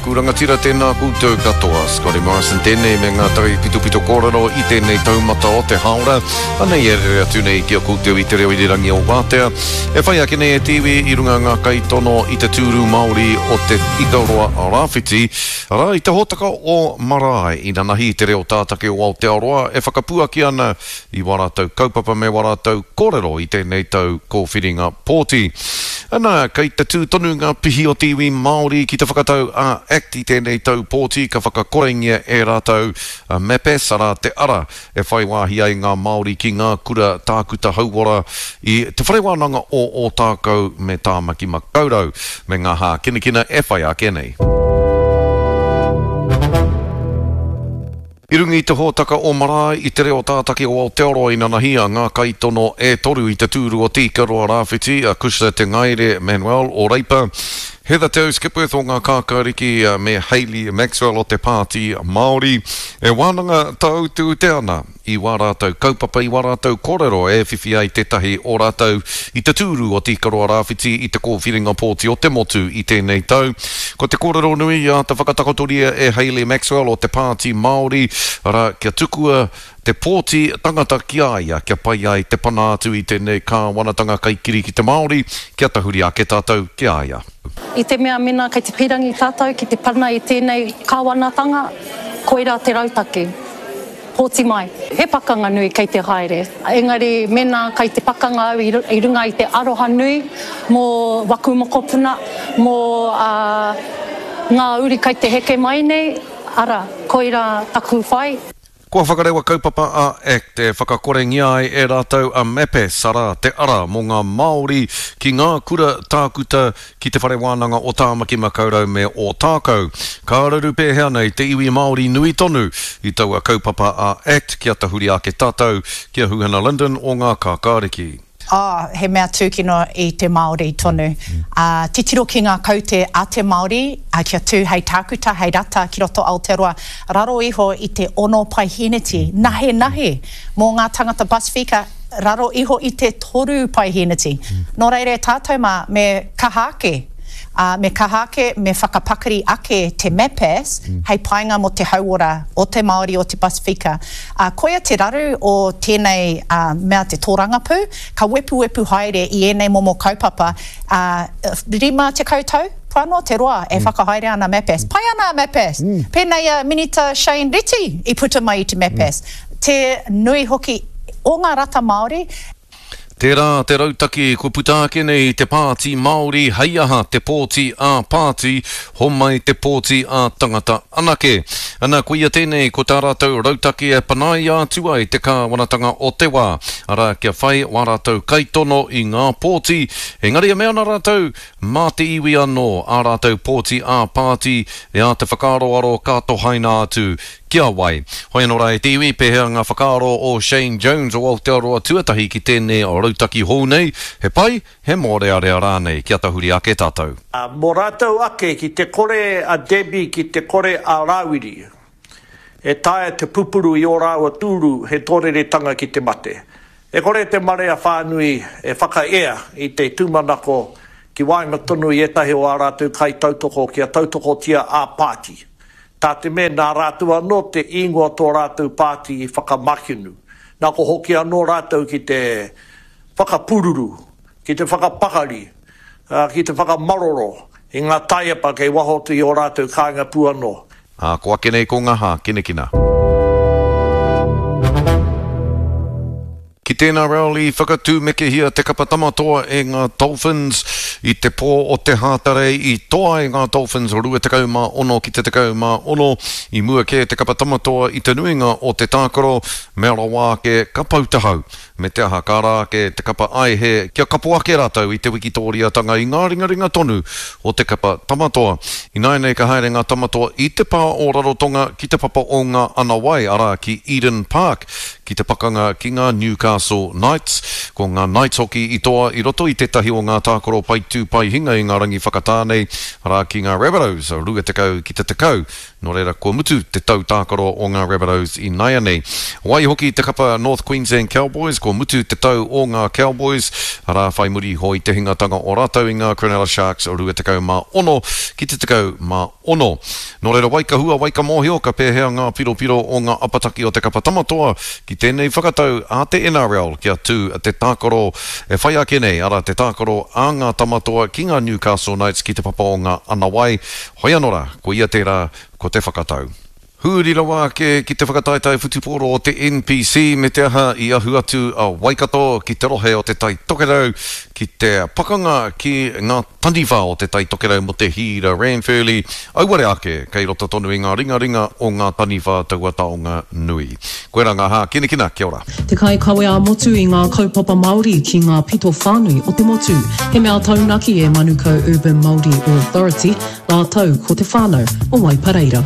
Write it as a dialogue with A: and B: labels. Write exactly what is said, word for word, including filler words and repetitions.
A: ōku rangatira, tēnā koutou katoa. Scotty Morrison tēnei me ngā tari pitopito kōrero i tēnei taumata o te haora. Anei e rere atu nei ki a koutou i te reo irirangi o Wātea. E whai ake nei e te iwi i runga ngā kaitono i te tūru Māori o te Ikaroa Rāwhiti. Arā i te hōtaka o Marae i nanahi te reo tātake o Aotearoa e whakapuaki ana i wā rātou kaupapa me wā rātou kōrero i tēnei tau kōwhiringa pōti. Ana, kei te tū tonu ngā pihi o te iwi Māori ki te whakatau a ACT i tēnei tau pōti ka whakakorengia e rātou a MAPAS, arā te ara e whai wāhi ai ngā Māori ki ngā kura tākuta hauora i te whare wānanga o Ōtākou me Tāmaki Makaurau me ngā hākinakina e whai ake nei. I runga i te hōtaka o Marae i te reo tātaki o Aotearoa i nanahi a ngā kaitono e toru i te tūru o Te Ikaroa Rāwhiti, a Cushla Te Ngaere Manuel o Reipa, Heather Te Skipworth o ngā Kākāriki me Hayley Maxwell o te Pāti Māori. E wānanga tāutu te ana i wā rātou kaupapa, i wā rātou kōrero e whiwhi ai tētahi o rātou i te tūru o Te Ikaroa Rāwhiti i te kōwhiringa pōti o te motu i tēnei tau. Ko te kōrero nui i āta whakatakotoria e Hayley Maxwell o te Pāti Māori, arā kia tukua te pōti tangata ki a ia, kia pai ai te pana atu i tēnei kāwanatanga kaikiri ki te Māori, kia tahuri ake tātou ki a ia.
B: I te mea mena kei te pirangi tātou ki te pana i tēnei kāwanatanga, koira te rautaki. Pōti mai. He pakanga nui kei te haere. Engari mena kei te pakanga au i runga i te aroha nui mō waku mokopuna, mō uh, ngā uri kei te heke mai nei, ara, koira taku whai.
A: Kua whakarewa kaupapa a ACT e whakakorengia ai e rātou a MAPAS, arā te ara mō ngā Māori ki ngā kura tākuta ki te whare wānanga o Tāmaki Makaurau me Ōtākou. Ka raru pēhea nei te iwi Māori nui tonu i taua kaupapa a ACT kia tahuri ake tātou ki a Huhana Lyndon o ngā Kākāriki.
C: Oh, he mea tūkino i te Māori tonu. Mm. Uh, titiro ki ngā kaute a te Māori, uh, kia tū hei tākuta, hei rata ki roto Aotearoa, raro iho i te ono paihēneti, mm. nahe nahe, mō ngā tangata Pasifika, raro iho i te toru paihēneti. Mm. Nō reira tātou mā, me kaha ake. Uh, me kaha ake, me whakapakari ake te MAPAS mm. hei painga mō te hauora o te Māori o te Pasifika. Uh, koia te raru o tēnei uh, mea te tōrangapū, ka wepuwepu haere i ēnei momo kaupapa, uh, rima tekau tau, pāno te roa e mm. whakahaere ana MAPAS. Pai ana a MAPAS. Mm. Pēnei a Minita Shane Reti i puta mai i te MAPAS. Mm. Te nui hoki o ngā rata Māori.
A: Tērā te rautaki kua puta ake nei te Pāti Māori hei aha te pōti a pāti, homai te pōti a tangata anake. Ana, koia tēnei ko tā rātou rautaki e panaia atu ai te kāwanatanga o te wā. Arā, kia whai wā rātou kaitono i ngā pōti, engari e mea ana rātou mā te iwi anō ā rātou pōti a pāti e ā te whakaaroaro ka tohaina atu ki a wai. Hoi anō rā e te iwi, pēhea ngā whakaaro o Shane Jones o Aotearoa tuatahi ki tēnei rautaki hou nei, he pai, he mōrearea rānei, kia tahuri ake tātou.
D: Uh, mō rātou ake ki te kore a Debbie, ki te kore a Rāwiri, e taea te pupuru i ō rāua tūru he tōreretanga ki te mate. E kore te marea whānui e whakaea i te tūmanako ki waenga tonu i ētahi o ā rātou kai tautoko kia tautokotia a pāti. Tā te mea nā rātou anō te ingoa tō rātou pāti i whakamakinu. Nā ko hoki anō rātou ki te whakapururu, ki te whakapakari, ki te whakamaroro i ngā taiapa kei waho atu i ō rātou kāinga pū anō.
A: Ā, ko ake nei ko ngā hākinakina. Ki tēnā rally whakatūmekehia te kapa tamatoa e ngā Dolphins i te pō o te Hātarei i toa ai ngā Dolphins rua tekau mā ono ki te tekau mā ono i mua kē te kapa tamatoa i te nuinga o te tākaro mea rawa ake ka pau te hau. Me te aha ka rā ake te kapa aihe kia kapo ake rātou i te wikitoriatanga i ngā ringaringa tonu o te kapa tamatoa. Ināianei ka haere ngā tamatoa i te pā o Rarotonga ki te papa o ngā Anawai, arā ki Eden Park, ki te pakanga ki ngā Newcastle Knights. Ko ngā Knights hoki i toa i roto i tētahi o ngā tākaro pai tū pai hinga i ngā rangi whakatā nei, arā ki ngā Rabbitohs, rua tekau ki te tekau Nō reira, kua mutu te tau tākaro o ngā Rabbitohs i nāianei. Waihoki te kapa North Queensland Cowboys, kua mutu te tau o ngā Cowboys, arā, whai muri iho i te hingatanga o rātou i ngā Cronulla Sharks rua tekau mā ono ki te tekau mā ono. Nō reira, wai ka hua, wai ka mōhio, ka pēhea ngā piropiro o ngā apataki o te kapa Tamatoa ki tēnei whakatau a te N R L kia tū te tākaro e whai ake nei, arā, te tākaro a ngā Tamatoa ki ngā Newcastle Knights ki te papa o ngā Anawai. Hoi anō rā, ko ia tērā, ko te whakatau. Huri rawa ake ki te whakataetae whutupōro o te N P C me te aha i ahu atu a Waikato ki te rohe o te Tai Tokerau ki te pakanga ki ngā taniwha o te Tai Tokerau mō te Hīra Ranfurly. Auare ake kei roto tonu i ngā ringaringa o ngā taniwha taua taonga nui. Koirā ngā hākinakina, kia ora.
E: Te kaikawe ā-motu i ngā kaupapa Māori ki ngā pito whānui o te motu. He mea taunaki e Manukau Urban Māori Authority, rātou ko te whānau o Waipareira.